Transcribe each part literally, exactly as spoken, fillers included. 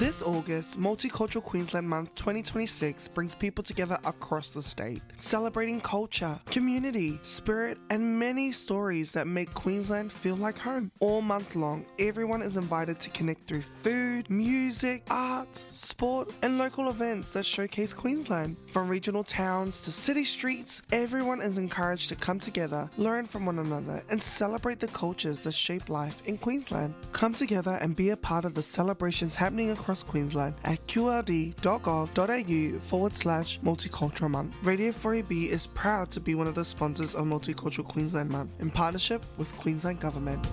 This August, Multicultural Queensland Month twenty twenty-six brings people together across the state, celebrating culture, community, spirit, and many stories that make Queensland feel like home. All month long, everyone is invited to connect through food, music, art, sport, and local events that showcase Queensland. From regional towns to city streets, everyone is encouraged to come together, learn from one another, and celebrate the cultures that shape life in Queensland. Come together and be a part of the celebrations happening across Queensland at qld.gov.au forward slash multicultural month. Radio four A B is proud to be one of the sponsors of Multicultural Queensland Month in partnership with Queensland Government.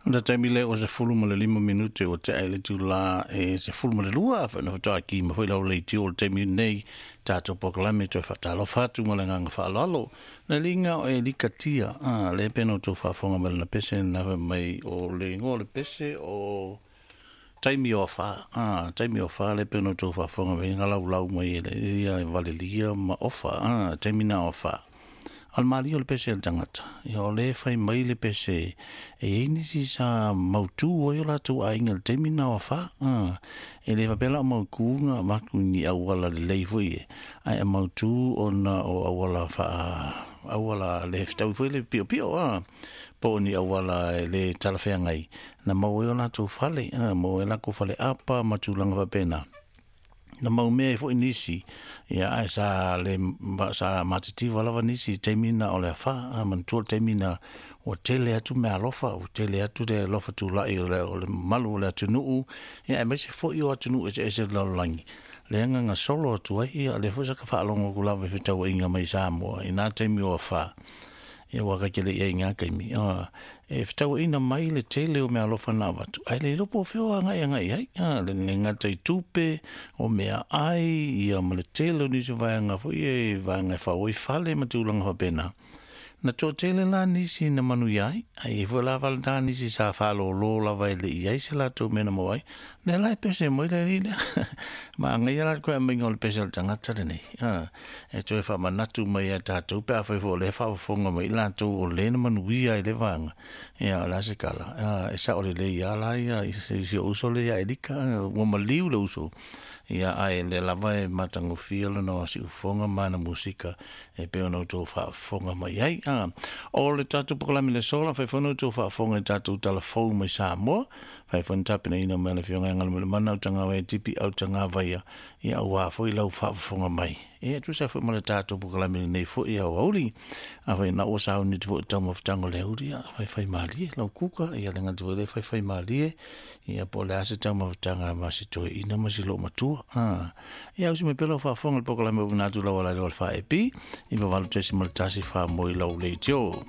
Ona taimi le o se fulu ma le lima minute o te aile tu la e se fulu ma le lua wha wha ki ma whai lau le tio o le taimi nei tātou pokalame toi whatalofa atu ma le nganga whaalalo. Le linga o e lika tia, ah, le peno tō whaafonga ma le na pese na mai o le ngo le pese o taimi o wha, ah, taimi o wha le peno tō whaafonga me ngā lau lau mai e le ia valelia ma ofa, ah, taimi na o wha. Al mali o le pese le tangata. Ia o le whai mai le pese e einisi sa mautu o i o lātou ainga le taimi na o wha. Ah, e le wapela o mauku ngā maku ni awala le lei fui e. Ai a mautu o na o awala wha, awala le whitau fui le pio pio. Ah. Po ni awala le talawhea ngai. Na mau e o lātou whale, ah, mau e lako whale apa matulanga wapena. Na mau mea e fo nisi ia ai sa le sa matitiva lava nisi taimi na o le afa a mantua taimi na o tele atu mea alofa o tele atu le alofa tula'i o le, o le malu o le atunuu ia e maise fo'i o atunuu e se ese le lalolagi le agaga solo atu ai ia le foi sa ka faalongo ku lava e fetauaiga mai Samoa i nā taimi o afa ia waka ke le ia ngā kaimi. E whitau ina mai le tele o mea alofa nā watu. Ai le lopo whio a ngai a ngai ai. A, le le ngata i tupe o mea ai ia ma le tele o nisi vaanga fo i e vaanga e whaoi whale ma tūlanga whapena. Na tō tele la nisi na manu iai, ai e fo la wale nā nisi sa whalo lō lava e le iai se la tō mena mo ai. Ne lai pese moi le ri Ma ngai ala koe a mainga o le pese o le tangata le nei. Ah, e toe wha manatu mai a tātou pe a whai fo le whaafonga mai la tō o le na manu ia i le vanga. Ia o la se kala. Ah, e sa o le le ia la ia i se i uso le ia e lika, ua maliu le uso. Ia ai le lava e matangofia le no si ufonga mana musika e pe ona tō whaafonga mai ai. Ah, o le tātou pokalame le sola, whai whanau tō whaafonga i tātou talafou mai Samoa, whai whanau tapina ina mea le whionga ngala mele mana au tanga wai tipi au tanga vaia, ia au wā fo i lau whaafonga mai. E atu sa fo ma le tātou pokalame nei fo i au auli, a whai na o sa au ni te fo i tauma whitango le auli, a whai whai malie, lau kuka, ia le ngati le whai whai malie, ia po le ase tauma whitanga ma si toi ina ma si lo matua. Ah, ia usi me pelo whaafonga le pokalame o nātu lau ala le wha e pi, i wawalu tesi ma le tasi wha moi lau le tio.